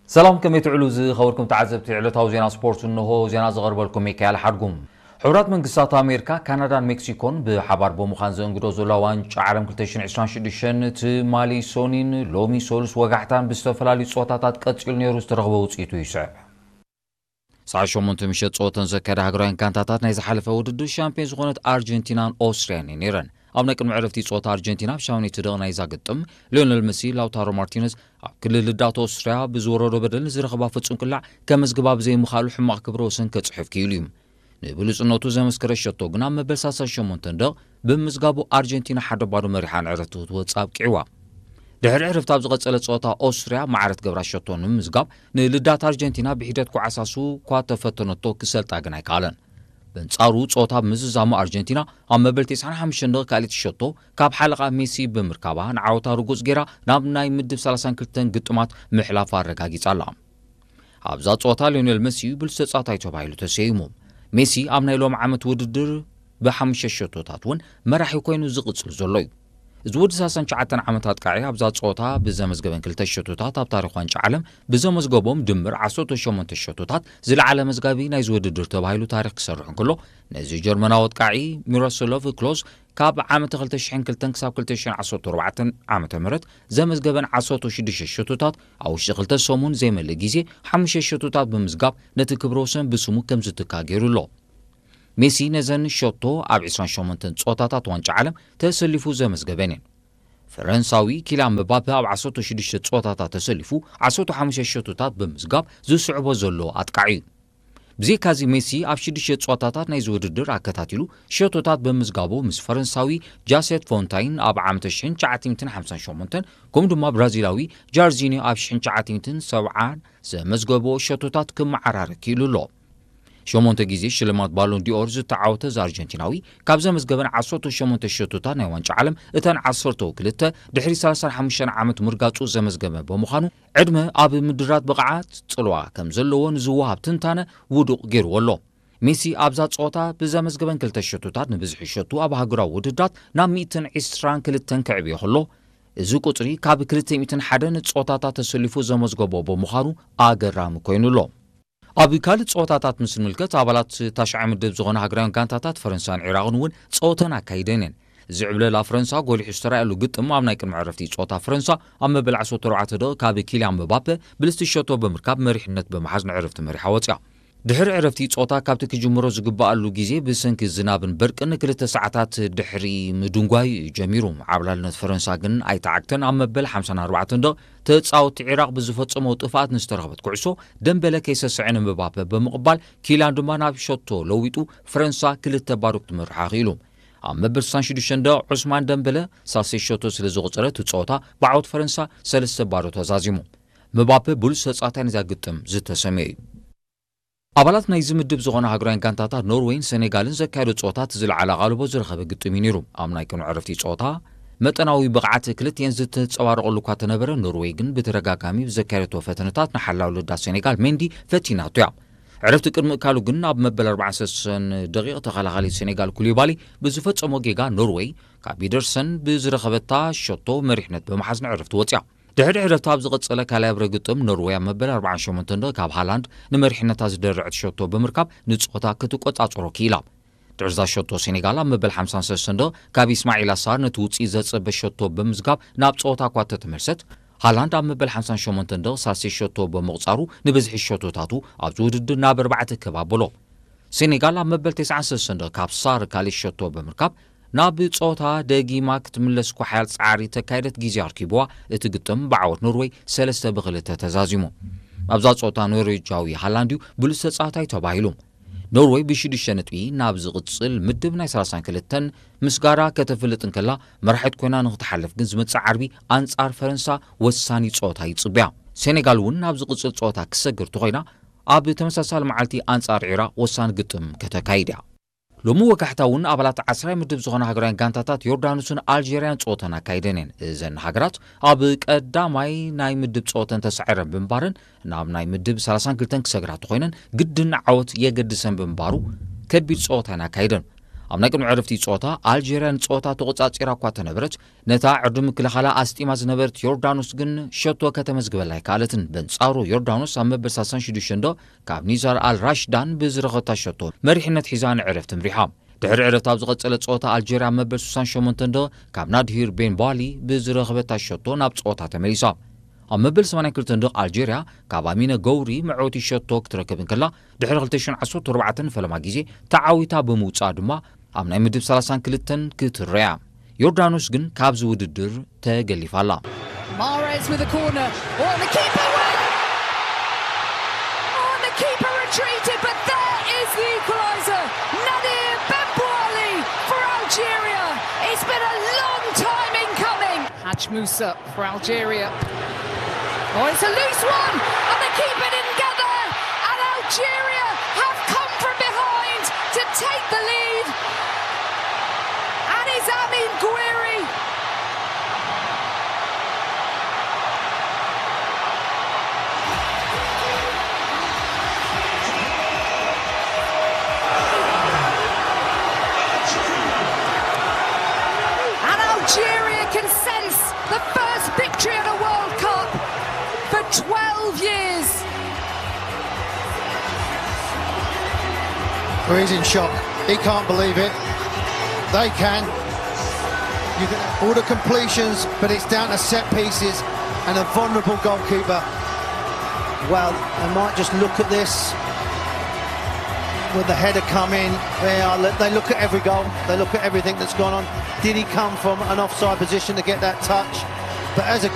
ሰላም፣ ከመይ ትዕሉ ዝኸበርኩም ተዓዘብቲ ዕለታዊ ዜና ስፖርት? እንሆ ዜና ዘቐርበልኩም ሚካኤል ሓድጉም። ሕቡራት መንግስታት ኣሜሪካ፣ ካናዳን ሜክሲኮን ብሓባር ብምዃን ዘእንግዶ ዘለዋ ዋንጫ ዓለም ክልተ ሽሕን ዕስራን ሽዱሽተን ትማሊ ሶኒን ሎሚ ሰሉስ ወጋሕታን ብዝተፈላለዩ ጸወታታት ቀጺሉ ነይሩ፣ ዝተረኽበ ውጽኢቱ ይስዕብ። ሰዓት ሸሞንተ ምሸት ጸወተን ዘካየዳ ሃገራውያን ጋንታታት ናይ ዝሓለፈ ውድድር ሻምፒዮን ዝኾነት ኣርጀንቲናን ኦስትርያን እየን ነይረን። ኣብ ናይ ቅድሚ ዕረፍቲ ጸወታ ኣርጀንቲና ኣብ ሻውኔቲ ደቕ ናይዛ ግጥም ሊዮነል መሲ፣ ላውታሮ ማርቲነዝ ኣብ ክልል ልዳት ኦስትርያ ብዝወረዶ በደል ንዝረኸባ ፍጹም ቅላዕ ከመዝግባ ብዘይምኽኣሉ ሕማቕ ክብረ ወሰን ከጽሕፍ ክኢሉ እዩ። ንብሉጽነቱ ዘመስከረ ሸቶ ግን ኣብ መበል ሰላሳ ሸሞንተ ደቕ ብምዝጋቡ ኣርጀንቲና ሓደ ባዶ መሪሓ ንዕረፍቲ ክትወጽእ ኣብቂዕዋ። ድሕሪ ዕረፍቲ ኣብ ዝቐጸለ ጸወታ ኦስትርያ ማዕረ ትገብራ ሸቶ ንምምዝጋብ ንልዳት ኣርጀንቲና ብሒደት ኳዕሳሱ እኳ ተፈተነቶ ክሰልጣ ግን ኣይከኣለን። በንጻሩ ጸወታ ብምዝዛሙ ኣርጀንቲና ኣብ መበል ተስዓን ሓሙሽተን ደቒቕ ካልኣይቲ ሸቶ ካብ ሓለቓ ሜሲ ብምርካባ ንዓወታ ርጉጽ ጌራ ናብ ናይ ምድብ ሰላሳን ክልተን ግጥማት ምሕላፋ ኣረጋጊጻ ኣላ። ኣብዛ ጸወታ ሊዮኔል መሲ ብሉጽ ተጻዋታይ ተባሂሉ ተሰይሙ። ሜሲ ኣብ ናይ ሎም ዓመት ውድድር ብሓሙሽተ ሸቶታት እውን መራሒ ኮይኑ ዝቕጽል ዘሎ እዩ። እዚ ወዲ ሰላሳን ትሽዓተን ዓመት ኣጥቃዒ ኣብዛ ጸወታ ብዘመዝገበን ክልተ ሸቶታት ኣብ ታሪኽ ዋንጫ ዓለም ብዘመዝገቦም ድምር ዓሰርተ ሸሞንተ ሸቶታት ዝለዓለ መዝጋቢ ናይዚ ውድድር ተባሂሉ ታሪኽ ክሰርሕ እንከሎ፣ ነዚ ጀርመናዊ ኣጥቃዒ ሚሮስሎቭ ክሎዝ ካብ ዓመተ ክልተ ሽሕን ክልተን ክሳብ ክልተ ሽሕን ዓሰርተ ኣርባዕተን ዓመተ ምህረት ዘመዝገበን ዓሰርተ ሽዱሽተ ሸቶታት ኣብ ውሽጢ ክልተ ሰሙን ዘይመልእ ግዜ ሓሙሽተ ሸቶታት ብምዝጋብ ነቲ ክብረ ወሰን ብስሙ ከም ዝትካ ገይሩ ኣሎ። ሜሲ ነዘን ሸቶ ኣብ ዕስራን ሸሞንተን ጸወታታት ዋንጫ ዓለም ተሰሊፉ ዘመዝገበን እየን። ፈረንሳዊ ኪልያን ምባፔ ኣብ ዓሰርተ ሽዱሽተ ጸወታታት ተሰሊፉ ዓሰርተ ሓሙሽተ ሸቶታት ብምዝጋብ ዝስዕቦ ዘሎ ኣጥቃዒ እዩ። ብዘይካዚ ሜሲ ኣብ ሽዱሽተ ጸወታታት ናይዚ ውድድር ኣከታቲሉ ሸቶታት ብምዝጋቡ ምስ ፈረንሳዊ ጃሴት ፎንታይን ኣብ ዓመተ ሽሕን ትሽዓተ ሚእትን ሓምሳን ሸሞንተን ከምኡ ድማ ብራዚላዊ ጃርዚኒዮ ኣብ ሽሕን ትሽዓተ ሚእትን ሰብዓን ዘመዝገቦ ሸቶታት ክመዓራረ ክኢሉ ኣሎ። ሸሞንተ ግዜ ሽልማት ባሎን ዲኦር ዝተዓወተ እዚ ኣርጀንቲናዊ ካብ ዘመዝገበን ዓሰርተ ሸሞንተ ሸቶታት ናይ ዋንጫ ዓለም እተን ዓሰርተው ክልተ ድሕሪ ሰላሳን ሓሙሽተን ዓመት ምርጋጹ ዘመዝገበ ብምዃኑ ዕድመ ኣብ ምድራት ብቕዓት ጽልዋ ከም ዘለዎ ንዝወሃብ ትንታነ ውዱቕ ገይርዎ ኣሎ። ሜሲ ኣብዛ ጸወታ ብዘመዝገበን ክልተ ሸቶታት ንብዝሒ ሸቱ ኣብ ሃገራዊ ውድድራት ናብ ሚእትን ዕስራን ክልተን ከዕብዮ ከሎ፣ እዚ ቁጽሪ ካብ ክልተ ሚእትን ሓደን ጸወታታት ተሰሊፉ ዘመዝገቦ ብምዃኑ ኣገራሚ ኮይኑ ኣሎ። ኣብ ካልእ ጸወታታት ምስ ንምልከት፣ ኣባላት ታሽዓይ ምድብ ዝኾነ ሃገራውያን ጋንታታት ፈረንሳን ዒራቕን እውን ጸወተን ኣካይደን እየን። ዝዕብለላ ፈረንሳ ጎሊሑ ዝተራእየሉ ግጥም ኣብ ናይ ቅድሚ ዕረፍቲ ጸወታ ፈረንሳ ኣብ መበል ዓሰርተ ኣርባዕተ ደቒቕ ካብ ኪልያን ምባፔ ብልስቲ ሸቶ ብምርካብ መሪሕነት ብምሓዝ ንዕረፍቲ መሪሓ ወጽያ። ድሕሪ ዕረፍቲ ጸወታ ካብቲ ክጅምሮ ዝግበኣሉ ግዜ ብሰንኪ ዝናብን በርቅን ክልተ ሰዓታት ድሕሪ ምድንጓዩ እዩ ጀሚሩ። ዓብላልነት ፈረንሳ ግን ኣይተዓግተን። ኣብ መበል ሓምሳን ኣርባዕተን ደቒቕ ተጻወትቲ ዒራቕ ብዝፈጸመዎ ጥፍኣት ንዝተረኽበት ኩዕሶ ደምበለ ከይሰስዐ ንምባፔ ብምቕባል ኪልያን ድማ ናብ ሸቶ ለዊጡ ፈረንሳ ክልተ ባዶ ክትመርሓ ክኢሉ። ኣብ መበል ስሳን ሽዱሽተን ደቒቕ ዑስማን ደምበለ ሳልሰይ ሸቶ ስለ ዝቑጸረ እቲ ጸወታ ብዓወት ፈረንሳ ሰለስተ ባዶ ተዛዚሙ። ምባፔ ብሉጽ ተጻዋታይ ናይዛ ግጥም ዝተሰምየ እዩ። ኣባላት ናይዚ ምድብ ዝኾና ሃገራውያን ጋንታታት ኖርዌይን ሴኔጋልን ዘካየዶ ጸወታ እቲ ዝለዓለ ኣቓልቦ ዝረኸበ ግጥም እዩ ነይሩ። ኣብ ናይ ቅድሚ ዕረፍቲ ጸወታ መጠናዊ ብቕዓት ክልቲኤን ዝተንጸባረቐሉ እኳ ተነበረ፣ ኖርዌይ ግን ብተደጋጋሚ ብዘካየደቶ ፈተነታት ንሓላው ልዳት ሴኔጋል ሜንዲ ፈቲናቶ እያ። ዕረፍቲ ቅድሚ እካሉ ግን ኣብ መበል ኣርባዓን ሰለስተን ደቒቕ ተኸላኻሊ ሴኔጋል ኩሊባሊ ብዝፈጸሞ ጌጋ ኖርዌይ ካብ ፒደርሰን ብዝረኸበታ ሸቶ መሪሕነት ብምሓዝ ንዕረፍቲ ወጽያ። ድሕሪ ዕረፍቲ ኣብ ዝቐጸለ ካልኣይ ኣብረ ግጥም ኖርወይ ኣብ መበል ኣርባዓን ሸሞንተን ደቒቕ ካብ ሃላንድ ንመሪሕነታ ዝደረዐት ሸቶ ብምርካብ ንጸወታ ክትቆጻጸሮ ክኢላ። ድሕሪ እዛ ሸቶ ሴኔጋል ኣብ መበል ሓምሳን ሰለስተን ደቒቕ ካብ ኢስማዒል ኣሳር ነቲ ውጽኢት ዘጸበ ሸቶ ብምዝጋብ ናብ ጸወታ እኳ ተተመልሰት፣ ሃላንድ ኣብ መበል ሓምሳን ሸሞንተን ደቒቕ ሳልሰይ ሸቶ ብምቑጻሩ ንብዝሒ ሸቶታቱ ኣብዚ ውድድር ናብ ኣርባዕተ ክብ ኣበሎ። ሴኔጋል ኣብ መበል ተስዓን ሰለስተን ደቒቕ ካብ ሳር ካልእ ሸቶ ብምርካብ ናብ ጸወታ ደጊማ ክትምለስ እኳ ሓያል ጻዕሪ ተካየደት ግዜ ኣርኪብዋ፣ እቲ ግጥም ብዓወት ኖርወይ ሰለስተ ብክልተ ተዛዚሙ። ኣብዛ ጸወታ ኖርዌጃዊ ሃላንድ እዩ ብሉጽ ተጻዋታይ ተባሂሉ። ኖርወይ ብሽዱሽተ ነጥቢ ናብ ዝቕጽል ምድብ ናይ ሰላሳን ክልተን ምስ ጋራ ከተፍልጥ እንከላ፣ መራሒት ኮይና ንክትሓልፍ ግን ዝመጽእ ዓርቢ ኣንጻር ፈረንሳ ወሳኒ ጸወታ ይጽብያ። ሴኔጋል እውን ናብ ዝቕጽል ጸወታ ክሰግር ተኾይና፣ ኣብ ተመሳሳሊ መዓልቲ ኣንጻር ዒራቕ ወሳኒ ግጥም ከተካይድ እያ። ሎሚ ወጋሕታ እውን ኣባላት ዓስራይ ምድብ ዝኾና ሃገራውያን ጋንታታት ዮርዳኖስን ኣልጀርያን ጸወተን ኣካይደን እየን። እዘን ሃገራት ኣብ ቀዳማይ ናይ ምድብ ጸወተን ተሳዒረን ብምንባረን ናብ ናይ ምድብ ሰላሳን ክልተን ክሰግራ ተኾይነን ግድን ዓወት የገድሰን ብምንባሩ ከቢድ ጸወታ እየን ኣካይደን። ኣብ ናይ ቅድሚ ዕረፍቲ ጸወታ ኣልጀርያ ንጸወታ ተቖጻጺራ እኳ ተነበረት፣ ነታ ዕርዲ ምክልኻላ ኣስጢማ ዝነበረት ዮርዳኖስ ግን ሸቶ ከተመዝግበላ ኣይከኣለትን። በንጻሩ ዮርዳኖስ ኣብ መበል ሰላሳን ሽዱሽተን ዶ ካብ ኒዛር ኣል ራሽዳን ብዝረኸታ ሸቶ መሪሕነት ሒዛ ንዕረፍቲ ምሪሓ። ድሕሪ ዕረፍቲ ኣብ ዝቐጸለ ጸወታ ኣልጀርያ ኣብ መበል ስሳን ሸሞንተን ዶ ካብ ናድሂር ቤን ባሊ ብዝረኸበታ ሸቶ ናብ ጸወታ ተመሊሳ። ኣብ መበል ሰማንያን ክልተን ዶ ኣልጀርያ ካብ ኣሚነ ገውሪ መዕወቲ ሸቶ ክትረክብ እንከላ፣ ድሕሪ ክልተ ሽሕን ዓሰርተ ኣርባዕተን ፈለማ ግዜ ተዓዊታ ብምውጻእ ድማ ኣብ ናይ ምድብ ሰላሳን ክልተን ክትረያ። ዮርዳኖስ ግን ካብዚ ውድድር ተገሊፋ ኣላ። Mahrez with a corner. Oh, the keeper went! Oh, the keeper retreated, but there is the equaliser. Nadir Benbouali for Algeria. It's been a long time in coming. Haj Musa for Algeria. Oh, it's a loose one, and the keeper didn't get there. And Algeria have come from behind to take the lead. And it's Amin Gouiri. And Algeria can sense the first victory at a World Cup for twelve years. Well, he's in shock. He can't believe it. They can. You can all the completions, but it's down to set pieces and a vulnerable goalkeeper. Well, they might just look at this with the header coming. They are. They look at every goal. They look at everything that's gone on. Did he come from an offside position to get that touch? But as a